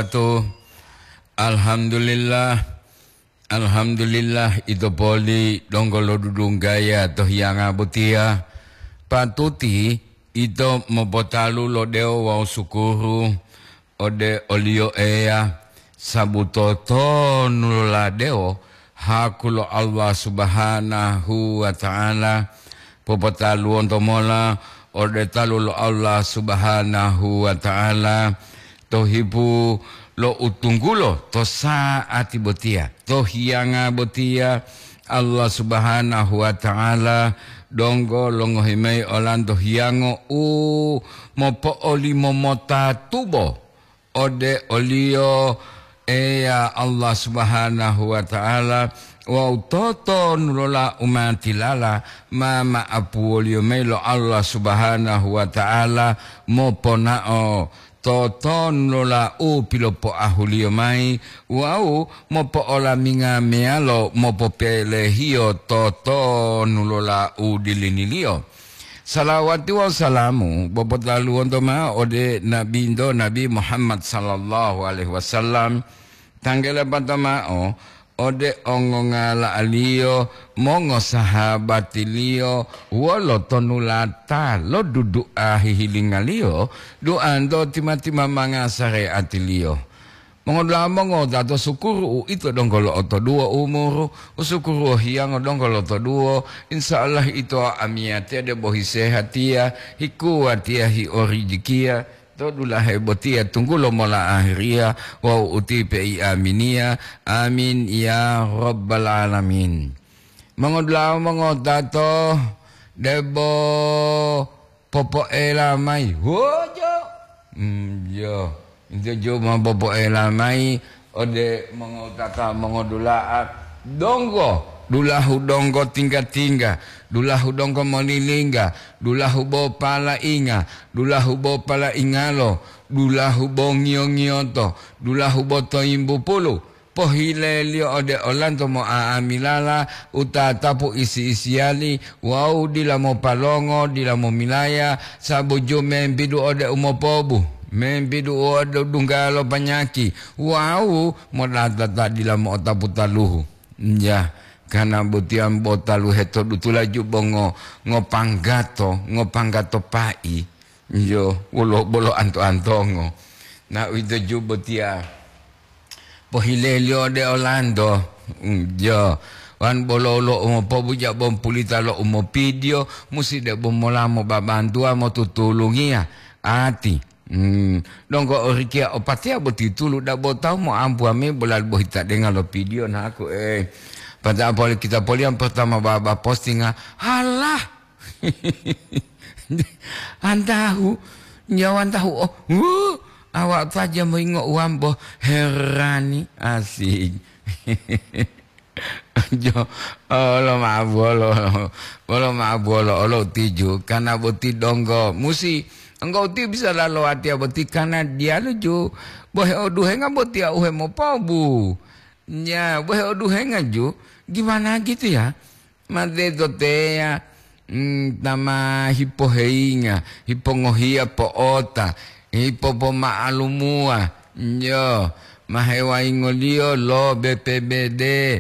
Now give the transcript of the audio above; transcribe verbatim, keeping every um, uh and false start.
wabarakatuh. Alhamdulillah. Alhamdulillah, ito poli donggo lodudunggaya to hiyanga botiya. Patuti ito mopotalu lo dewo wawu sukuru ode oliyo Eya, sabu totonu lola dewo haku lo Allah Subhanahu wa Ta'ala. Popotaluwonto mola ode talu lo Allah Subhanahu wa Ta'ala to hipu lo utunggulo to sa'ati botiya, to hiyanga botiya. Allah Subhanahu wa Ta'ala donggo longohi mayi olanto hiyango u mopo'olimo mota tubo ode oliyo Eya Allah Subhanahu wa Ta'ala, wawu totonulola umatilala ma ma'apuwoliyo mayi lo Allah Subhanahu wa Ta'ala moponao totonulola u pilopoahuliyo mayi wawu mopo'olaminga meyalo mopopelehiyo totonulola u diliniliyo. Salawati wawu salamu bopotaluwonto mao ode Nabinto Nabi Muhammad sallallahu alaihi wasallam, tanggele pata mao ode ongongala'aliyo, mongosahabatiliyo, wolo tonulata lo dudu'a hihilingaliyo, du'anto tima-timamanga sare'atiliyo. Mongodula'a mongowutato, sukuru uito donggo lo'otoduwo umuru, usukuru hiyango donggo lotoduwo, insya Allah ito amiyatiya debo hisehatiya, hikuwatiya, hiorijikiya, to dulahe botiya tunggulo mola ahiriya wawu utipe i aminiya. Amin ya rabbal alamin. Mongodula'a mongowutato, debo popoela mayi. Wojo. Mm, yo. Ito ju ma popoela mayi ode mongowutata mongodula'a donggo, dulahu donggo tingga-tingga, dulahu donggo molilingga, dulahu bo palainga, dulahu bo palaingalo, dulahu bo ngiyo-ngiyoto, dulahu bo toyimbupulu. Pohileliyo ode olanto mo'a'amilala u tatapu isi-isiyali wawu dila mopalongo, dila momilaya, sabu ju membidu ode umopobu, membidu ode dungga lo panyaki, wawu modata ta dila mo'otapu taluhu. Ya, kana botiya bo taluhe to dutula ju bo ngo-, ngopanggato, ngopanggato pai. Iyo, wolo bolo anto-antongo. Na uwito ju botiya. Pohileliyo ode olanto. Mm, jo. Wan bolo lo umopobuja bompulita lo umopidiyo, musi debo mola mobabantuwa motutulungiya ati. Mm, donggo orikiya opatiya boti tulu dabo tawu moampuwa me bolali bohita denga lo pidiyo naku, eh. Pada poli kita poliyan pertama baba postinga, halah. Antahu, nyawa antahu, oh, wuh, awak saja moyingo uwambo herani, asik. Jo, olo ma'o bolo, olo ma'o bolo, olo tiju, kana boti donggo, musi, engkau ti bisa lalo watiya boti kana diyalu ju, bohe oduhenga botiya uhe mopobu. Ya, bohe oduhenga ju, gimana gitu ya? Mateto teya, mm, ta ma hipoheyinga, hipongohiya po'ota, hipopoma'alumuwa, yo, ma hewayingoliyo lo B P B D,